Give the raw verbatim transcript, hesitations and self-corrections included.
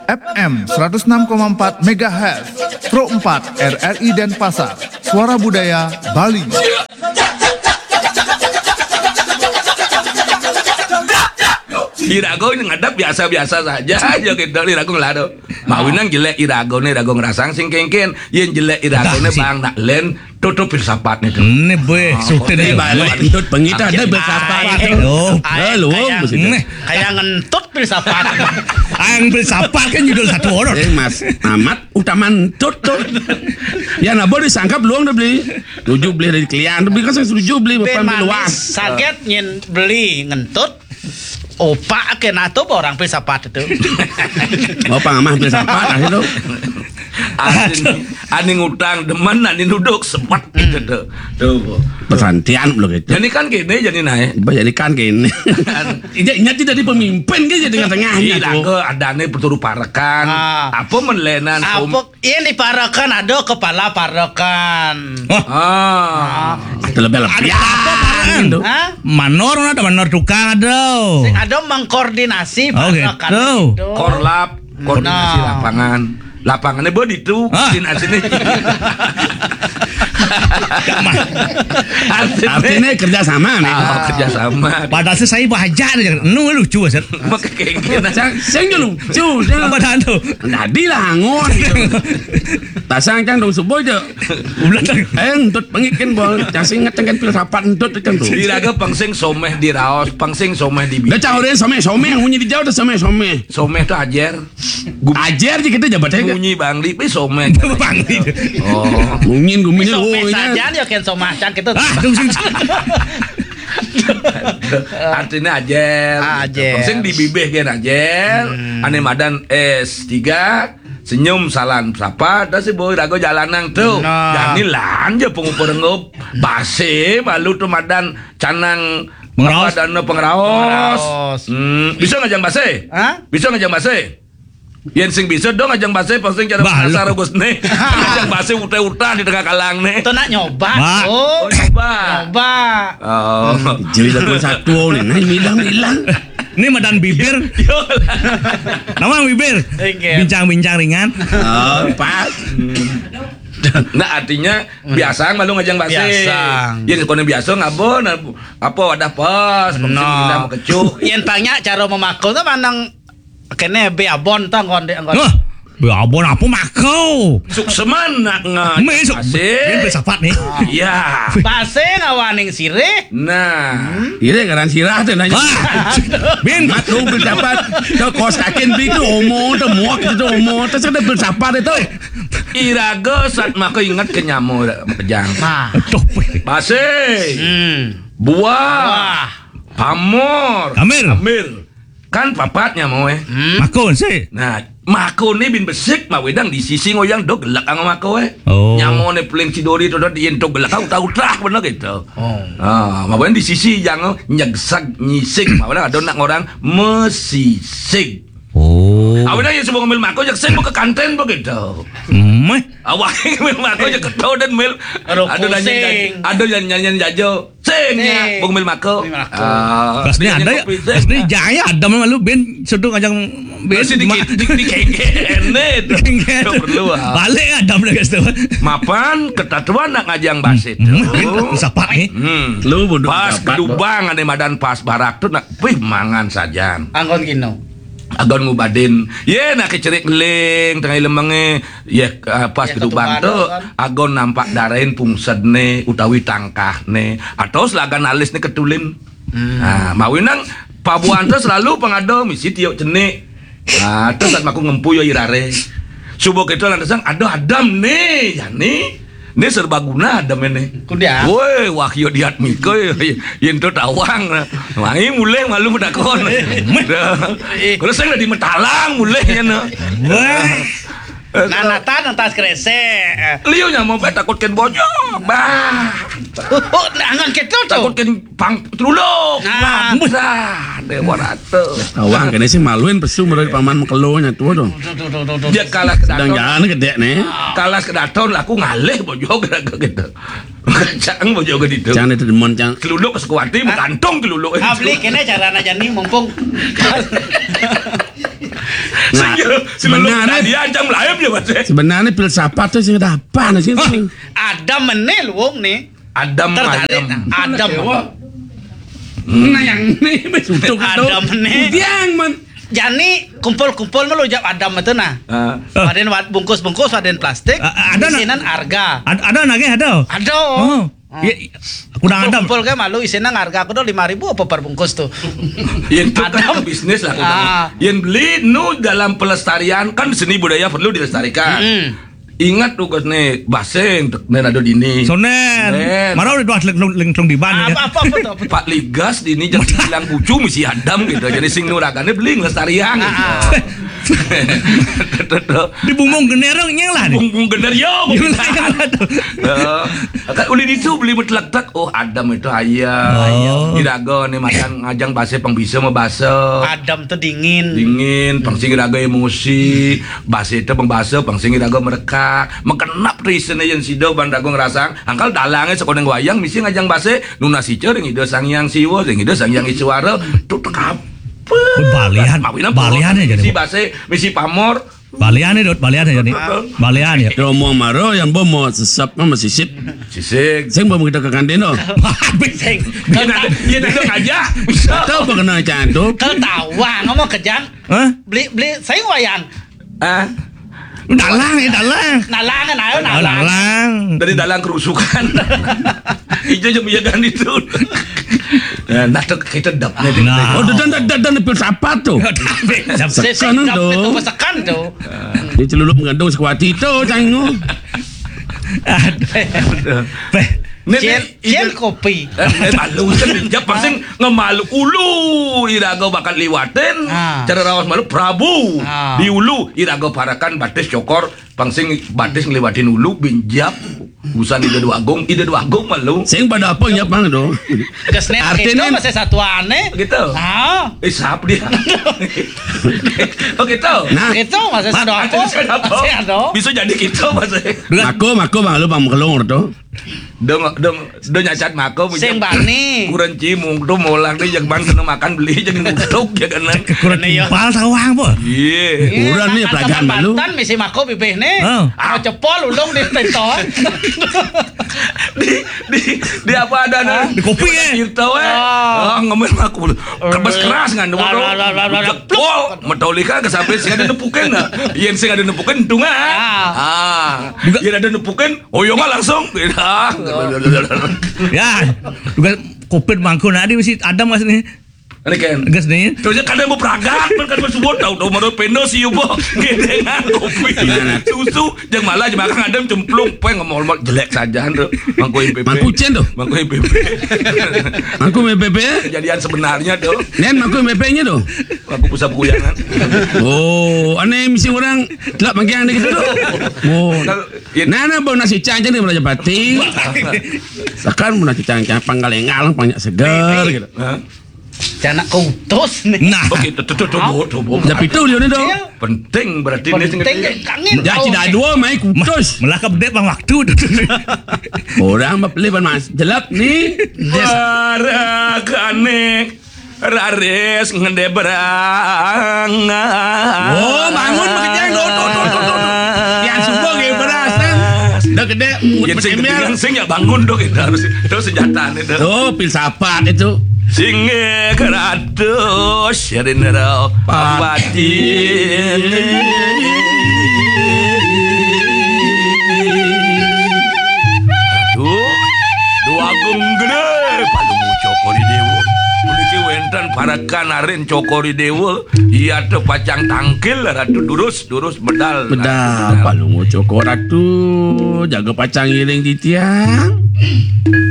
F M seratus enam koma empat megahertz, Pro empat R R I Denpasar, Suara Budaya Bali. Irago ngadep biasa-biasa saja aja gitu, irago ngelado. Mawinang jelek irago nih, irago ngerasang sing kengken. Yen jelek irago nih, bang, nak len tutup filsafat nih tuh. Ini boy, sudah nih, balik. Entut pengita ada filsafat. Oh, eh, luwung kayak, kayak ngentut filsafat. Ang filsafat kan judul satu orang. Eh, Mas Amat utama entut tuh. Ya, nah, boleh disangkap luang dah beli. Tujuh beli dari kalian, tapi kan saya setuju beli bapak luas. Saget nyen beli ngentut. Opak ke nato orang filsafat itu. Mau pang amah filsafat lah itu. Aning, aning utang demen, aning duduk sebat gitu tuh. Tuh. Pesantian belum gitu. Jadi kan gini, jadi naik. Jadi kan gini. Iya, ingat tidak di pemimpin kan jadi tengah-tengahnya tuh. Ke adane berturu parekan. Apa menlenan? Apa yang diparekan ada kepala parekan. Ah. Ada lebih-lebih. Ada apa parekan? Hah? Manor ada, manor tukang ada. Sing ada mengkoordinasi parekan gitu. Korlap, koordinasi lapangan. Lapangannya buat itu, koordinasinya. Artinya kerja sama nih. Oh, kerja sama. Padahal saya bahagia aja. Nu lucu, Sir. Makanya kayak gini. Saya, saya dulu. Apa dah tuh? Tadi lah angon. Tasang cang dong subuh aja. Ulah. Eh, entut pengikin bol. Cang sing inget cang kan filsafat entut cang tuh. Iraga pengsing someh di raos, pengsing someh di bibir. Dah cang udah someh, someh, munyi di jauh dah someh, someh. Someh tuh ajer. Ajer sih kita jabat aja. Munyi bangli, pe someh. Bangli. Oh, mungkin guminya. Someh saja dia kan somah cang gitu. Ah, tuh, tuh, tuh. Artinya ajer. Ajer. Pengsing di bibir kan ajer. Ane madan S tiga. Senyum salam sapa, dah si boy rago jalanang tuh. Nah. Jani lanja pengupa rengup. Base malu tuh madan canang pengeraos. Apa dana pengeraos? Pengeraos. Hmm, bisa ngajang base? Hah? Bisa ngajang base? Yen sing bisa dong ngajang base, pasti cara pengasar Agus nih. Ngajang base utah-utah di tengah kalang nih. Itu nak nyoba. Oh, nyoba. Nyoba. Oh. Jadi satu nih, nah, hilang-hilang. Ini madan bibir. Yo. Nama bibir? Bincang-bincang ringan. Oh, pas. Nah, artinya biasa malu ngajang base. Biasa. Ya, kalau biasa ngabo, nah, apa wadah pas, pasti bilang mekecuk. Yen tanya cara memakul tuh mandang kene be abon tang konde anggon. Wah, be abon apa makau? Sukseman nak ngajang base. Ini filsafat nih. Iya. Base ngawaning sirih. Nah, ire ngaran sirah tuh nanya. Bin, mat lu filsafat. Tuh kos kakin bi tuh omo, tuh muak itu omo, tuh ada filsafat itu. Iraga sat maka ingat ke nyamo pejang. Nah. Tuh, base. Hmm. Buah. Buah. Pamor. Amir. Amir. Kan papat nyamo eh. Hmm. Makon sih. Nah, makone bin besik mawedang di sisi ngoyang dog gelak ang mako eh. Oh. Nyamone peling cidori to dot yen dog gelak utah-utah bener gitu. Oh. Ah, mawedang di sisi yang nyegsag nyisik mawedang ada nak orang mesisik. Oh. Awedang yang semua ngambil mako jak sing ke kanten begitu. Meh. Awak ngambil mako jak keto dan mil. Ada nanya, ada yang nyanyian jajo. Sing ya, Bung Mil Mako. Bung Mil Mako. Ah, pas ini ada ya. Pas ini jaya ada malu bin sudu ngajang bin. Masih di di di kengkene itu. Kengkene. Perlu ah. Balik ada mereka itu. Mapan ketatuan nak ngajang basit. Sapa nih? Hmm. Lu bodoh. Pas kedubang ada madan pas barak tuh nak, wih mangan sajan. Anggon kino. Agon ngubadin, ye nak kecerik ngeling tengah lemenge, ye pas kedubang tu agon nampak darain pungsedne utawi tangkahne atau selagan alisne ketulin. Hmm. Nah, mawinang pabuan tu selalu pengado misi tiok cenik. Nah, terus saat maku ngempu yo irare. Subuh kita lantasan ada adam ne, yani. Ini serbaguna ada mene. Kuda. Woi, wahyu diat mika yen to tawang. Mai mulih malu medakon. Kalau saya di metalang mulih ya no. Woi. Nah, nata nata kresek. Liu nya mau takut ken bonyok. Bah. Oh, angan keto to. Takut ken pang truluk. Nah. Bah. Dewa rata. Tawang kene sih maluin pesu mulai paman mekelo nya tuh dong. Dia kalah ke daton. Sedang jalan gede nih. Kalah ke daton laku ngalih bojog gitu. Cang bojog gitu. Cang itu demen cang. Keluluk ke sekuati menggantung keluluk. Abli kene cara najani mumpung. Nah, Sebenarnya dia ajang melayu ya, Mas. Sebenarnya filsafat tuh sih ada apa sih? Adam mené luung nih. Adam tertarik. Adam. Adam. Nah, yang ini, Mas, untuk Adam nih. Yang men- Jani kumpul-kumpul malu jawab Adam itu nah. Ah. Wadén wad-, bungkus-bungkus wadén plastik. Ah, ada, nah. Isinan arga. Ada, ada nagih, ada. Ada. Oh. Ah. Iya, iya. Aku udah ada. Kumpul-kumpul kayak malu isinan arga aku udah lima ribu apa per bungkus tuh. Yén itu kan Adam. Ke bisnis lah. Ah. Yén beli nu dalam pelestarian kan seni budaya perlu dilestarikan. Mm-mm. Ingat tuh, Gus, nih, basé, nih, ada di ini. Sonen. Sonen. Marau udah lengkong di ban, ya. Apa, apa, apa tuh, apa tuh? Pak Ligas di ini jadi bilang bucu misi Adam gitu. Jadi sing nuragané beli ngelestarian gitu. Ah, ah. Tuh, tuh. Di bumbung gener, nyéng lah, nih. Bumbung gener, yo, bumbung gener. Ya, kan uli itu beli betelak-telak. Oh, Adam itu ayam. Oh. Iraga nih macan ngajang basé pang bisa mah basa. Adam tuh dingin. Dingin, pang sing iraga emosi. Basé itu pang basa, pang sing iraga merekak. Mengkenap tuh isiné yén sida ban raga ngerasang. Angkal dalangé sekolah wayang misi ngajang basé. Nunas ica ring Ida Sang Hyang Siwa, ring Ida Sang Hyang Iswara. Tuh tekap. Oh, balian. Mawinang balian ya, jadi misi basé, misi pamor. Balian ya, Dot, balian ya, nih. Balian ya. Romo maro yang bomo sesep mah sisip. Sisik. Sing bomo kita ke kantin, no. Sing. Dia ada, dia ada aja. Tahu apa kena cantup? Ketawa, ngomong kejang. Hah? Beli, beli, saya wayang. Ah. Dalang ya, dalang. Dalang kan, ayo, oh, dalang. Dalang. Dari dalang kerusukan. Ijo jeung miyagan itu. Nah, nah, tuh kita dapnya. Nah. Oh, dan, dan, dan, dan filsafat tuh. Sekan tuh. Sekan tuh. Dia celulup mengandung sekuat itu, canggih. Aduh. Aduh. Beh. Nih, cien, nih, cien ide kopi. Eh, eh, malu kan, ya, pasti ngemalu ulu, iraga bakal liwatin, ah, cara raos malu, Prabu, ah, di ulu, iraga parakan batis cokor, pang sing batis ngliwatin ulu, binjap, usan Ida Dwagung, Ida Dwagung malu. Sing pada apa nyap, Bang, do? Gesnet artinya itu masih satuannya. Gitu. Ah. Eh, siapa dia? Oh, gitu. Nah. Itu masih satu apa? Masih ada. Bisa jadi gitu, Mas. Aku, aku malu, Bang, kelong, tuh. Dong, dong, dong nyacat mako, sing bani. Kurang cimung tuh molang tuh, yang ban kena makan beli, jangan ngutuk, ya kan, nah. Kurang timpal sawang, apa? Iya. Iya, kurang nih, pelajaran malu. Banten misi mako bibih nih. Oh. Ah, cepol ulung di tento. Di, di, di apa ada, nah? Di kopi, ya? Gitu, eh. Oh. Oh, ngemil mako. Keras-keras ngan, dong. Lah, lah, lah, lah, lah. Jepol, Metallica ke sampai sing ada nepukin, nah. Iya, sing ada nepukin, untung, ah. Ah. Ah. Juga. Iya, ada nepukin, oh, iya, nggak langsung. Beda. Ya, juga kopi mangkun, ada masih ada, Mas, nih. Ini kan. Gas nih. Terusnya kadang mau peragat, kan kadang mau subuh, tahu, tahu, mau pendo sih, yubo. Gedengan kopi. Nah, nah. Susu, yang malah, makan ada cemplung, peng, ngomong jelek saja, tuh. Mangku M P P. Mangku cen, tuh. Mangku M P P. Mangku M P P. Kejadian sebenarnya, tuh. Nen, mangku M P P-nya, tuh. Mangku pusat kuyangan. Oh, aneh misi orang, gelap mangkian gitu, tuh. Oh. Kalau, iya. Nah, nah, bau nasi cang, jadi Raja Pati. Sekarang mau nasi cang, cang, panggalengal, banyak segar, gitu. Hah? Anak kutus nih. Nah. Oke, tuh, tuh, tuh, tuh, tuh, tuh, tuh. Tapi itu dia nih, dong. Penting berarti ini. Penting, kangen. Ya, tidak dua, main kutus. Malah kebedet bang waktu. Orang mah beli, Bang, Mas. Jelap nih. Para kanek raris ngendebrang. Oh, bangun, Bang Kejang. Tuh, tuh, tuh, tuh, tuh, tuh. Yang subuh, gini, beras, kan? Udah gede, ya, sing, sing ya bangun dong, itu harus. Itu senjata nih, tuh. Tuh, filsafat itu. Singgih ratus, Rindra Pati. Ratu, Dwagung Gedé, Palungguh Cokor I Déwa. Puniki wénten parekan arin Cokor I Déwa. Iya, teu pacang tangkil, Ratu, durus, durus, medal. Medal, Ratu, medal. Palungguh Cokor, Ratu, jaga pacang ngiring titiang.